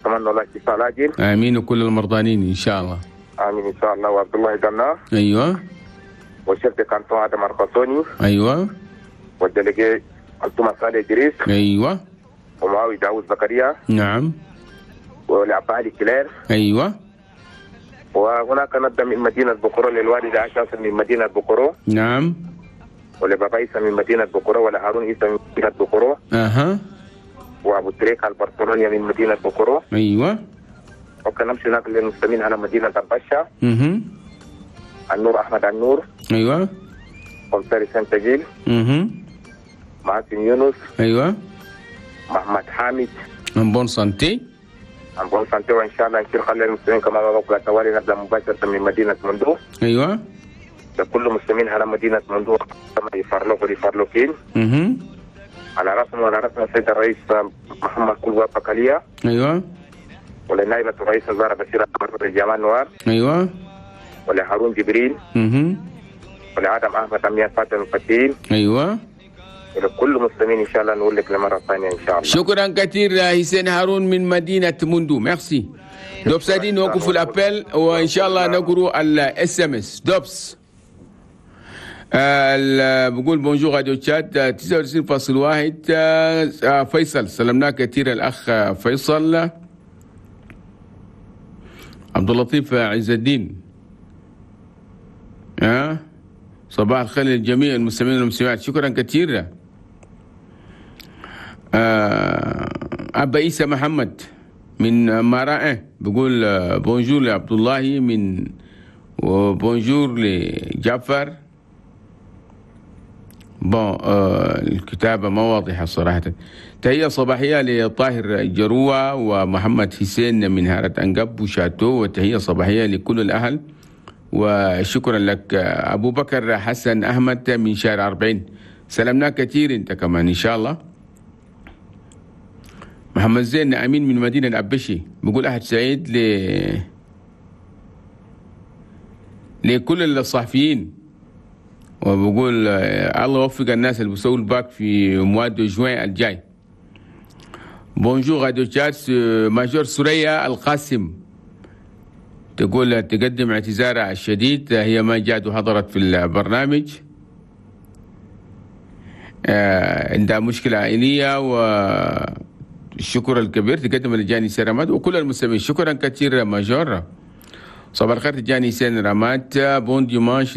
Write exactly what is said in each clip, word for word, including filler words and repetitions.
اتمنى الله الشفاء العاجل. امين وكل المرضانين ان شاء الله. امين ان شاء الله. وعبد الله دنا. ايوه. وال chef de canton ادم ارقصوني. ايوه. وال délégué التوما صالح ادريس. ايوه. ومعاوي داوود زكريا. نعم. ولعبد علي كلير. ايوه. وهناك نبدا من مدينة بوكورو للوالده عائشة من مدينة بوكورو. نعم. ولبابا عيسى من مدينة بوكورو، ولهارون عيسى من مدينة بوكورو. اها. وابو تريك البرشلونيه من مدينة بوكورو. ايوه. وكان نمشي هناك للمسلمين على مدينة البشا. اها. النور احمد النور. ايوه. commissaire سنتجيل. اها. معاصم يونس. ايوه. محمد حامد. en bonne santé. en bonne santé، وان شاء الله نشير خلي المسلمين كما بقول توالي نبدا مباشرة من مدينة مندو. ايوه. لكل المسلمين على مدينة مندو كما يفرلوك ويفرلوكين. اها. على راسنا وعلى راسنا السيد الرئيس محمد كلوا بكاليا. ايوه. ولنائبة الرئيس الزهرة بشير جمال نوار. ايوه. ولهارون جبريل. اها. ولعدم احمد امير فاطمة الفتيل. ايوه. ولكل المسلمين ان شاء الله نقول لك لمره ثانية ان شاء الله. شكرا كثير حسين هارون من مدينة موندو، merci. دوبس دي نوقف ال appel وان شاء الله نقروا ال SMS. دوبس بقول bonjour راديو تشاد تسعة وتسعين فاصل واحد. فيصل سلمناه كثير الاخ فيصل. عبد اللطيف عز الدين، ها صباح الخير للجميع المستمعين والمستمعات، شكرا كثير. أبا عيسى محمد من مراء بقول bonjour لعبد الله من و bonjour لجعفر. bon آه الكتابة ما واضحة صراحة. تحية صباحية لطاهر جروة ومحمد حسين من هارة أنقب وشاتو، وتحية صباحية لكل الأهل وشكرا لك. أبو بكر حسن أحمد من شارع أربعين، سلمنا كثير أنت كمان إن شاء الله. محمد زين أمين من مدينة أبشي بقول أحد سعيد ل لكل الصحفيين، وبقول الله يوفق الناس اللي بيسووا الباك في mois de juin الجاي. bonjour راديو تشاد، major سوريا القاسم تقول تقدم اعتذارها الشديد، هي ما جات وحضرت في البرنامج، عندها مشكلة عائلية، والشكر الكبير تقدم لجاني سيرامات وكل المستمعين. شكرا كثير major. صباح الخير تجاني سين رامات، bon dimanche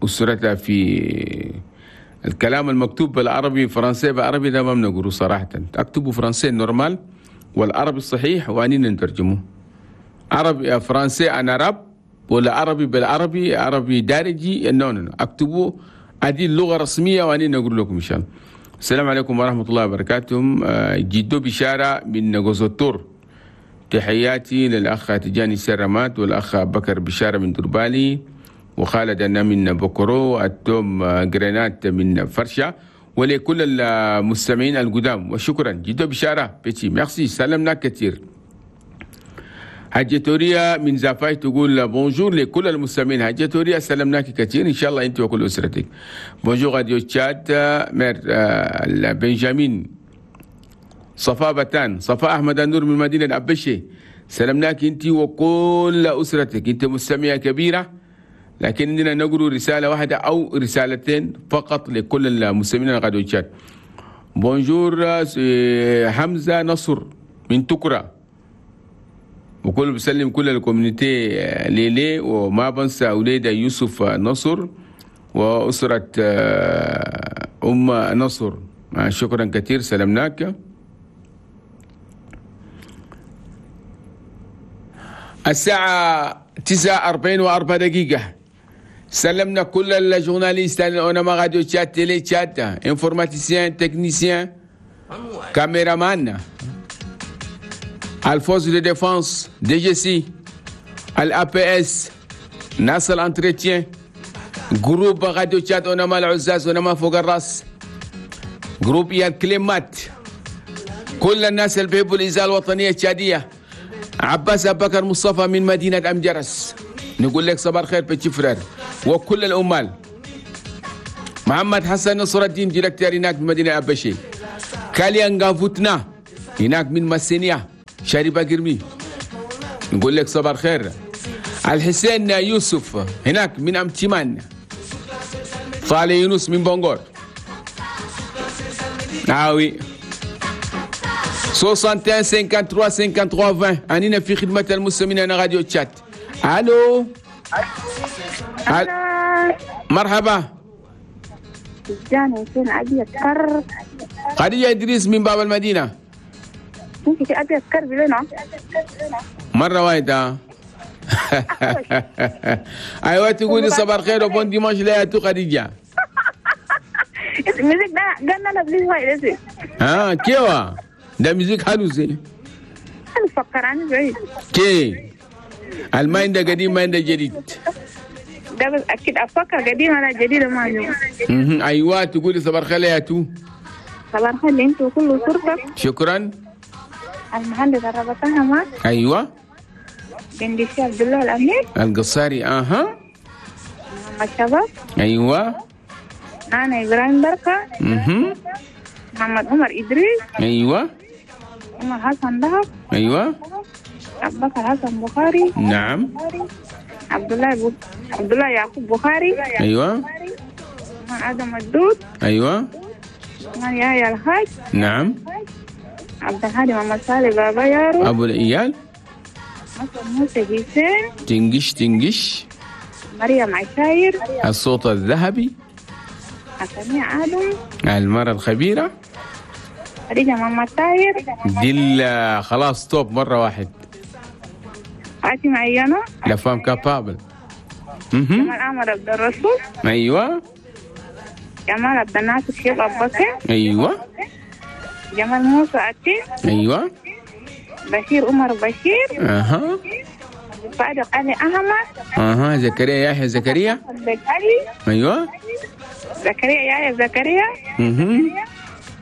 لأسرتها. في الكلام المكتوب بالعربي فرنسي بالعربي ده ما بنقوله صراحة، اكتبوا français normal والعربي الصحيح وانين نترجمه عربي français en arabe ولا عربي بالعربي عربي دارجي، no no اكتبوا هذه اللغة الرسمية وانين نقول لكم ان شاء الله. السلام عليكم ورحمة الله وبركاته. جدو بشارة من غوزوتور، تحياتي للأخ تجاني سرمات والأخ بكر بشارة من دربالي وخالد أنا من بوكرو، التوم جرينات من فرشة، ولكل المستمعين القدام وشكرا. جدو بشارة petit merci، سلمنا كثير. حاجة توريا من زافاي تقول bonjour لكل المستمعين. حاجة توريا سلمناك كثير ان شاء الله انت وكل اسرتك. bonjour راديو تشاد، مير بنجامين صفاء بتان، صفاء احمد النور من مدينة ابشي، سلمناك انت وكل اسرتك، انت مستمعه كبيرة، لكن عندنا نقرأ رسالة واحدة او رسالتين فقط لكل المستمعين راديو تشاد. bonjour حمزة نصر من تكرا، وكل بسلم كل ال communauté ليلي، وما بنسى أولاد يوسف نصر وأسرة أم نصر، شكرا كثير سلمناك. الساعة تسعة أربعين وأربع دقيقة، سلمنا كل ال journalistes أوناما راديو تشاد، تيلي تشاد، informaticiens، techniciens، caméraman، ال forces de défense، DGSI، ال APS، ناس ال entretien، groupe راديو تشاد اونما العزاز اونما فوق الراس، groupe يا الكلمات، كل الناس اللي بيحبوا الاذاعة الوطنية التشاديه. عباس ابو بكر مصطفى من مدينة امجرس، نقول لك صباح الخير petit frère وكل العمال. محمد حسن نصر الدين directeur هناك في مدينة ابشي. كاليان غافوتنا هناك من مسينيا. شاربة قرمي، نقول لك صباح الخير. الحسين يوسف هناك من أمتمان، صالح يونس من بونغور، ناوي واحد وستين ثلاثة وخمسين ثلاثة وخمسين عشرين. أننا في خدمة المستمعين أنا راديو تشات. ألو. ألو. مرحبا. خديجة إدريس من باب المدينة. مرة واحدة. أيوة تقولي صباح الخير و bon dimanche لياتو خديجة. آه كيوا ده musique حلو زي. كي الما عنده قديم ما عنده جديد. ده بس أكيد أفكر قديم أنا جديد ما عندي. أيوة تقولي صباح الخير يا تو. صباح الخير أنتوا كل صورتك. شكرا. المهندس الربطها معك. أيوة. بندشي عبد الله الأمير. القصاري أها. محمد شباب. أيوة. أنا إبراهيم بركة. أها. محمد عمر إدريس. أيوة. عمر حسن دهب. أيوة. أبو بكر حسن بخاري. نعم. عبد الله بو... عبد الله يعقوب بخاري. أيوة. آدم الدود. أيوة. يحيى الحاج. نعم. عبد الهادي محمد صالح بابا يارو. أبو الإيال. موسى حسين. تنجش تنجش. مريم عشاير. الصوت الذهبي. حسنية آدم. المرأة الخبيرة. خديجة محمد طاهر. دي خلاص توب مرة واحد. فاطمة عيانة. la femme capable. جمال أحمد عبد الرسول. أيوة. جمال عبد الناصر شيخ أبو بكر. أيوة. جمال موسى عتيق. أيوة. بشير عمر بشير. أها. صادق علي أحمد. أها. زكريا يحيى زكريا. علي. أيوة. زكريا يحيى زكريا. أها.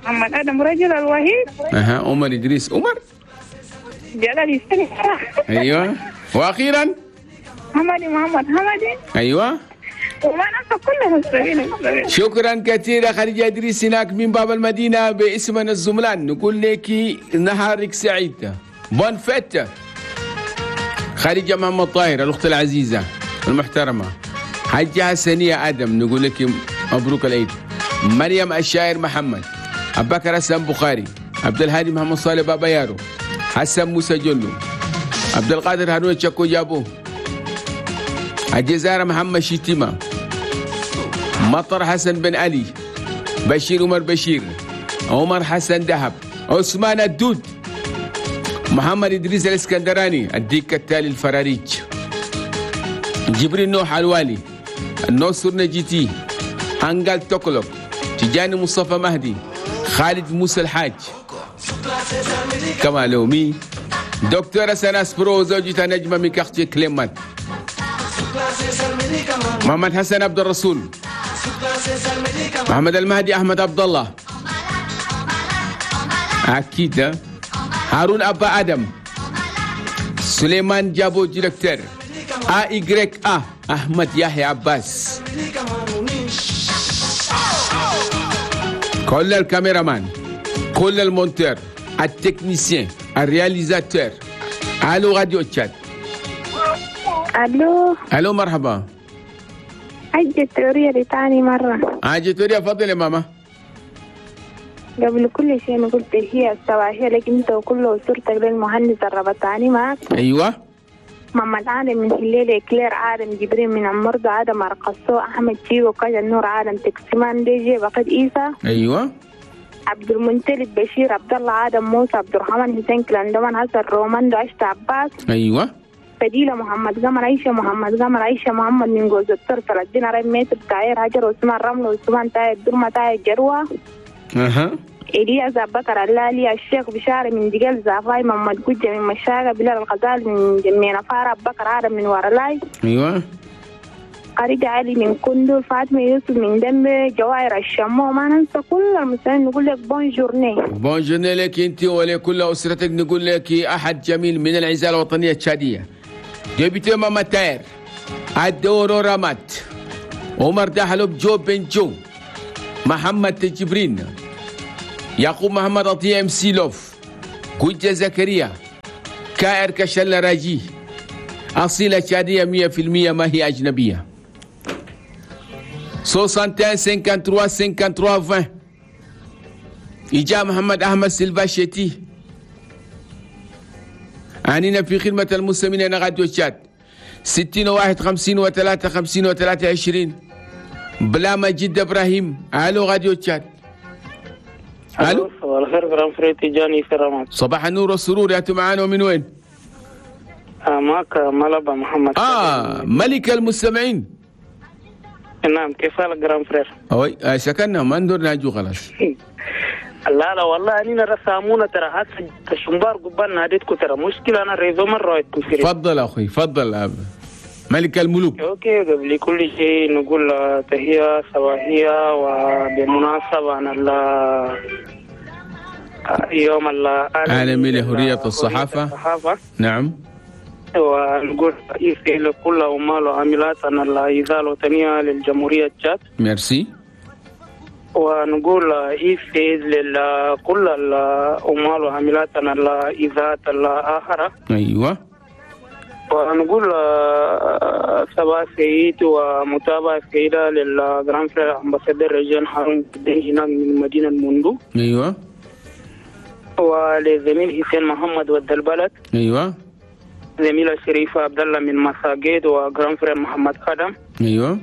محمد آدم رجل الوحيد. أها. عمر إدريس عمر. جلال يستني. أيوة. وأخيرا حمدي محمد حمدي. أيوة. وما ننسى كل المستمعين. شكرا كثيرا خديجة إدريس هناك من باب المدينة باسمنا الزملان. نقول لك نهارك سعيد، bonne fête. خديجة محمد طاهر الأخت العزيزة المحترمة. حاجة حسنية آدم نقول لك مبروك العيد. مريم الشاعر محمد، أبو بكر حسن بخاري، عبد الهادي محمد صالح بابا يارو، حسن موسى جلو، عبد القادر هارون تشكو جابو، الجزائر محمد شتيمة، مطر حسن بن علي، بشير عمر بشير، عمر حسن دهب، عثمان الدود، محمد إدريس الإسكندراني، الديك التالي الفراريج، جبريل نوح الوالي، النصر نجيتي، هنقال توكلوك، تجاني مصطفى مهدي، خالد موسى الحاج، كمالومي، دكتورة سناس برو زوجتها نجمة من كارتيه كليمان، محمد حسن عبد الرسول، محمد المهدي أحمد عبد الله، أكيد هارون أبا آدم، سليمان جابو directeur، أ إيغريك أ أحمد يحيى عباس، كل ال caméraman، كل ال monteur، ال technicien، ال réalisateur. الو راديو تشاد. الو. الو مرحبا. حاجة توريا لتاني مرة. حاجة توريا فضل يا ماما. قبل كل شيء أنا قلت هي الصباحية لك أنت وكل أسرتك للمهندس الربطاني معك. أيوة. محمد عالم من هليل، كلير عالم جبريل من عمرد، عادم أرقصو، أحمد شيبو، كاجا النور عالم تكسمان دي جي بقد إيسا. أيوة. عبد المنتلب بشير عبد الله عادم موسى عبد الرحمن حسين كلاندمان حسن رومان عشت عباس. أيوة. فديلة محمد قمر عيشة محمد قمر عيشة محمد من جوز الطر ثلاثين رأي متر تاير هجر عثمان رمل عثمان تاير درمة تاير جروة. أها. إلياس أبو بكر اللالي الشيخ بشارة من دجال زافاي محمد قجة من مشاقة بلال الغزال من جميع نفارة أبو بكر عادم من ورلاي. أيوة. خريجة علي من كندل فاطمة يوسف من دمبي جواهر الشمو. ما ننسى كل المسلمين. نقول لك bonne journée. bonne journée لك أنت ولكل أسرتك. نقول لك أحد جميل من العزالة الوطنية التشادية، député ماما تاير، الدورو رامات، عمر دحلوب، جو بن جو، محمد تجبرين، يعقوب محمد عطية ام سي لوف، كوجة زكريا، كائر كشلة راجي أصيلة تشادية مية في المية ما هي أجنبية. soixante et un cinquante-trois cinquante-trois vingt. إجا محمد أحمد سيلفا شيتي. عنينا في خدمة المستمعين راديو تشاد ستين واحد خمسين وثلاثة خمسين وثلاثة عشرين. بلا مجيد إبراهيم. ألو راديو تشاد. ألو. صباح الخير grand frère تيجاني في رمضان. صباح النور والسرور، يا معانا ومن وين؟ معك ملبا محمد. آه ملك المستمعين. نعم، كيف حالك grand frère؟ أوي سكننا ما ندور ناجو خلاص. لا لا والله أنا رسامونا ترى هسه الشمبار قبال ناديتكم ترى مشكلة، أنا réseau مرة كثير. تفضل أخوي تفضل أب. ملك الملوك. OK، قبل كل شيء نقول تحية صباحية وبمناسبة عن يوم العالمي لحرية الصحافة. الصحافة. نعم. ونقول لكل عمال وعاملات عن الإذاعة الوطنية للجمهورية تشاد. ميرسي. ونقول إيفيز لكل العمال وعاملات عن الإذاعة الآخرة. أيوة. ونقول صباح سعيد ومتابعة سعيدة لل grand frère ambassadeur رجان هارون هناك من مدينة موندو. أيوة. ولزميل حسين محمد ود البلد. أيوة. زميلة شريفة عبد الله من مساجد و grand frère محمد خدم. أيوة.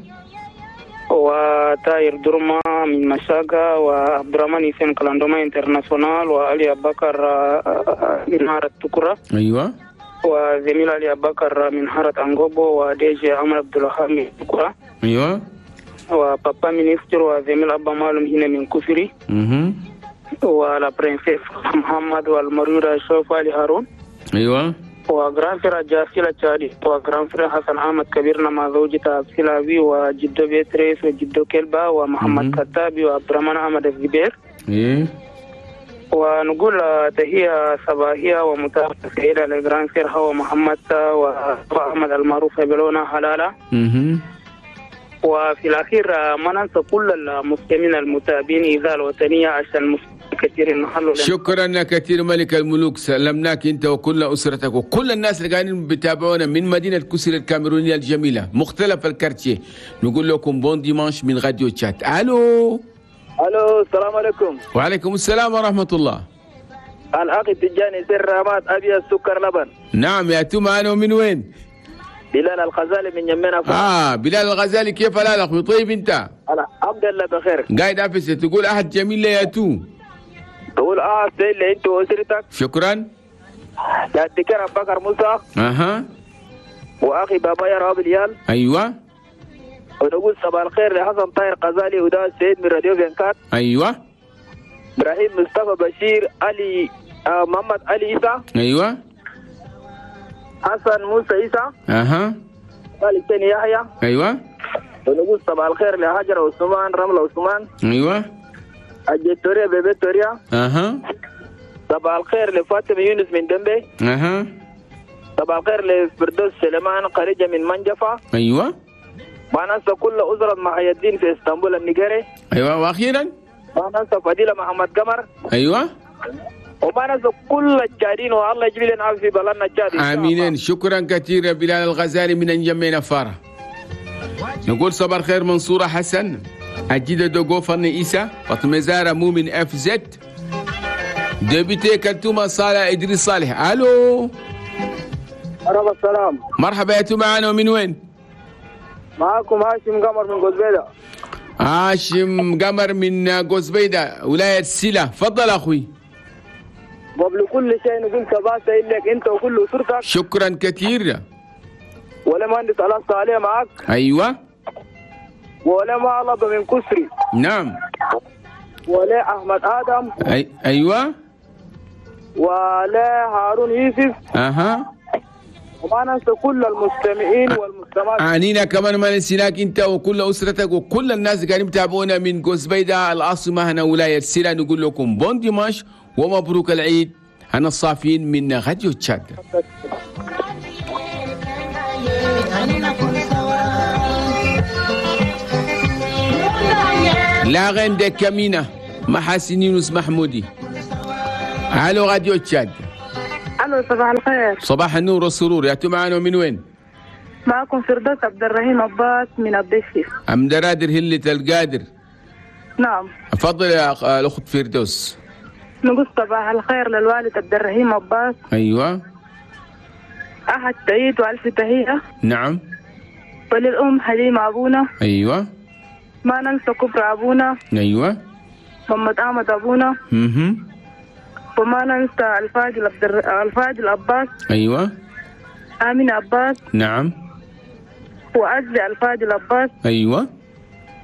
وتاير درما من مشاقة وعبد الرحمن حسين كلاندوما international وعلي بكر من حارة تكرة. أيوة. وزميل علي بكر من حارة أنغوبو وديجي عمر عبد الوهاب من تكرة. أيوة. و papa ministre وزميل أبا مالم هنا من كفري. اها. و la princesse محمد والمريرة شوف علي هارون. أيوة. و grand frère جاسيلا تشادي و grand frère حسن أحمد كبيرنا مع زوجته سلاوي وجدو بيتريس وجدو كلبا ومحمد كتابي وعبد الرحمن أحمد الزبير. إيه. ونقول تحية صباحية ومتابعة سعيدة ل grand frère هو محمد وأحمد المعروف بلونا حلالة. مم. وفي الأخير ما ننسى كل المسلمين المتابعين إذاعة الوطنية عشان كثير نحلوا. شكرا كثير ملك الملوك، سلمناك انت وكل اسرتك وكل الناس اللي قاعدين بيتابعونا من مدينه كسر الكاميرونيه الجميله مختلف ال quartiers. نقول لكم bon dimanche من راديو تشاد. الو الو، السلام عليكم. وعليكم السلام ورحمه الله. الاخ التجاني سر رامات ابيض سكر لبن. نعم يا توما، انا ومن وين؟ بلال الغزالي من يمنا. اه بلال الغزالي، كيف حالك اخوي؟ طيب انت؟ الحمد لله بخير. قاعد افس تقول احد جميل لي يا تو. تقول اه سيد انت واسرتك. شكرا. لا تذكر ابو بكر موسى. اها. واخي بابا يا راب اليال. ايوه. ونقول صباح الخير لحسن طاهر غزالي ودا السيد من راديو فينكات. ايوه. ابراهيم مصطفى بشير علي آه محمد علي عيسى. ايوه. حسن موسى عيسى. اها. خالد ثاني يحيى. ايوه. ونقول صباح الخير لهاجر عثمان رملة عثمان. ايوه. الجتوريا بيبي توريا. اها. صباح الخير لفاطمة يونس من دمبي. اها. صباح الخير لفردوس سليمان خريجة من منجفة. ايوه. ما ننسى كل أسرة محي الدين في اسطنبول النيجيري. ايوه واخيرا ما ننسى فضيلة محمد قمر. ايوه. وما ننسى كل الجارين والله يجيب لنا في بلدنا الجاري. امين. شكرا كثير يا بلال الغزالي من انجمينا فارة. نقول صباح الخير منصورة حسن أجيدة دوغو فن إيسا فاطمة زارة مؤمن اف زد député كلتومة صالح إدريس صالح. ألو مرحبا. السلام. مرحبا يا معنا ومن وين؟ معاكم هاشم قمر من قزبيدة. هاشم قمر من قزبيدة ولاية سيلة. تفضل أخوي. قبل كل شيء نقول صباح سعيد لك أنت وكل أسرتك. شكرا كثير. ولا مهندس الله صالح معك. أيوة. ولا معلب من كسري. نعم. ولا أحمد آدم. أي... أيوة. ولا هارون يوسف. أها. وما ننسى كل المستمعين والمستمعات. عنينا كمان ما نسيناك أنت وكل أسرتك وكل الناس قاعدين يتابعونا من قزبيدة العاصمة هنا ولاية سيلا. نقول لكم bon dimanche ومبروك العيد. أنا الصافين من راديو تشاد. la reine de كامينا محاسن يونس محمودي. الو راديو تشاد. الو، صباح الخير. صباح النور والسرور. يا معنا من وين؟ معكم فردوس عبد الرحيم عباس من الضيفي. ام درادر هلة القادر. نعم. تفضل يا الاخت فردوس. نقول صباح الخير للوالد عبد الرحيم عباس. ايوه. احد تعيد والف تحية. نعم. وللام حليمة ابونا. ايوه. ما ننسى كبر ابونا. ايوه. محمد احمد ابونا. اها. وما ننسى الفاضل عبد الفاضل عباس. ايوه. امين عباس. نعم. وعزي الفاضل عباس. ايوه.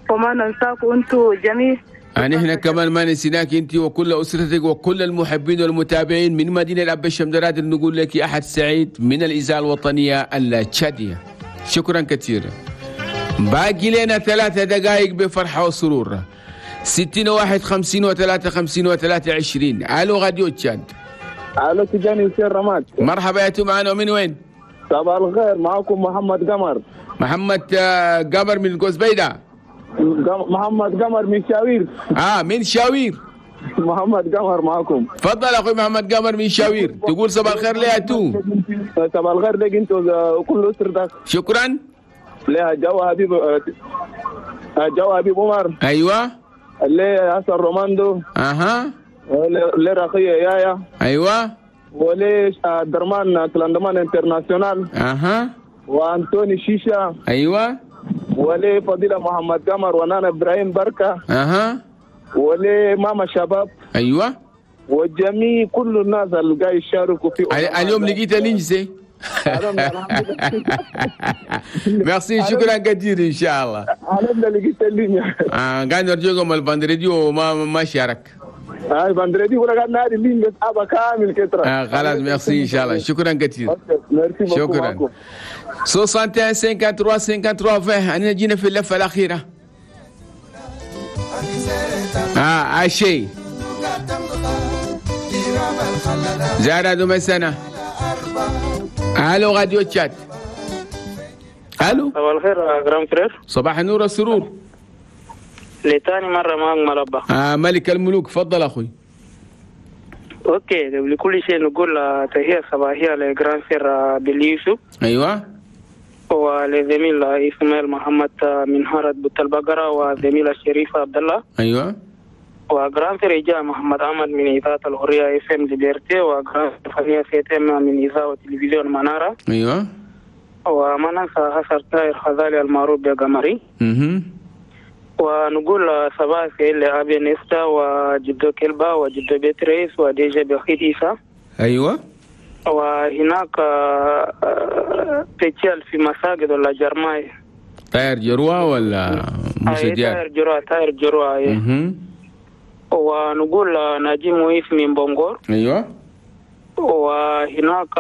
وما ننساكم انتم جميع. يعني احنا كمان ما نسيناك انت وكل اسرتك وكل المحبين والمتابعين من مدينة الابشه مدرادر. نقول لك احد سعيد من الاذاعة الوطنية التشاديه. شكرا كثيرا. باقي لنا ثلاثة دقائق بفرحة وسرور. ستين واحد خمسين وثلاثة خمسين وثلاثة عشرين. الو راديو تشاد. الو تجاني حسين رماد. مرحبا يا معنا من وين؟ صباح الخير، معكم محمد قمر. محمد قمر من قوس بيدا. محمد قمر من شاوير. اه من شاوير. محمد قمر معكم. تفضل اخوي محمد قمر من شاوير، تقول صباح الخير ليا تو. صباح الخير لك انت وكل اسرتك. شكرا. لها جو حبيب، جو حبيب عمر. ايوه. ليه حسن روماندو. اها. ليه رقية يايا. ايوه. وليه درمان كلاندمان international. اها. وانتوني شيشة. ايوه. وليه فضيلة محمد قمر ونانا ابراهيم بركة. اها. وليه ماما شباب. ايوه. وجميع كل الناس اللي قاعد يشاركوا في اليوم لقيت لينجزي. ميرسي، شكرا كثير ان شاء الله. انا لقيت اللينيا. اه قاعد نرجوكم ال vendredi وما ما شارك. اه ال vendredi ولا قاعد نادي اللين بس ابا كامل كتره. اه خلاص ميرسي ان شاء الله، شكرا كثير. شكرا. واحد وستين ثلاثة وثلاثين ثلاثة وثلاثين. انا جينا في اللفة الاخيرة. اه اشي زارا دوم سنة. الو راديو تشاد. الو. صباح الخير grand frère. صباح النور والسرور. لتاني مرة معك مربع. آه ملك الملوك، تفضل اخوي. OK، قبل كل شيء نقول تحية صباحية ل grand frère باليوسف. ايوه. ولزميل اسماعيل محمد من هارة بوت البقرة، وزميل الشريف عبد الله. ايوه. و grand frère جاء محمد احمد من اذاعة الحرية FM Liberté، و grand frère فنية سيتم من اذاعة تلفزيون منارة. ايوه. وما ننسى حسن طاهر خزالي المعروف بقمري. اها. ونقول صباح الخير لأبي نستا وجدو كلبا وجدو بيتريس وديجا بخيت إيسا. ايوه. وهناك تجال في مساجد ولا جرماي. طاير جروة ولا موسى ديار؟ طاير جروة، طاير جروة. اها. ونقول ناجي مويف من بونغور. ايوه. وهناك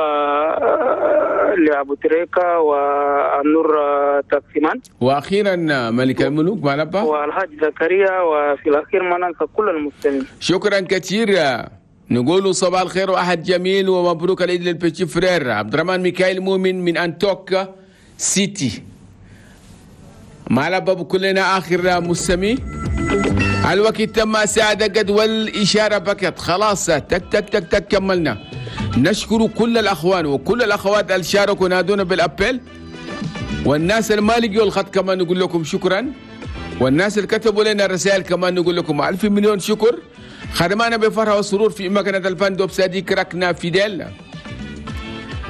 لأبو تريكا والنور تقسيمان. واخيرا ملك الملوك مالبا والحاج زكريا، وفي الاخير ما ننسى كل المسلمين. شكرا كثير. نقول صباح الخير واحد جميل ومبروك العيد لل petit frère عبد الرحمن ميكائيل مؤمن من انتوك سيتي. مالبا بكلنا اخر مستمي. الوقت تم ساعة قد والإشارة بكت خلاص، تك تك تك تك كملنا. نشكر كل الأخوان وكل الأخوات اللي شاركوا نادونا بال appel، والناس اللي ما لقيوا الخط كمان نقول لكم شكرا، والناس اللي كتبوا لنا الرسائل كمان نقول لكم ألف مليون شكر. خدمانا بفرحة وسرور في مكنة الفندق صديق ركنا فيديل.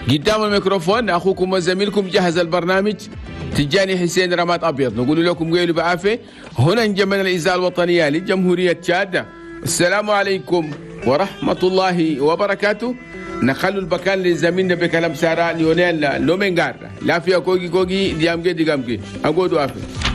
قدام الميكروفون أخوكم وزميلكم جهز البرنامج تجاني حسين رماد أبيض. نقول لكم قيلوا بعافية. هنا انجمنا الإذاعة الوطنية لجمهورية تشاد. السلام عليكم ورحمة الله وبركاته. نخلو البكان لزميلنا بكلام سارة ليونيل لومينغار. لا فيها كوكي كوكي ديامجي ديامجي. أقول عافية.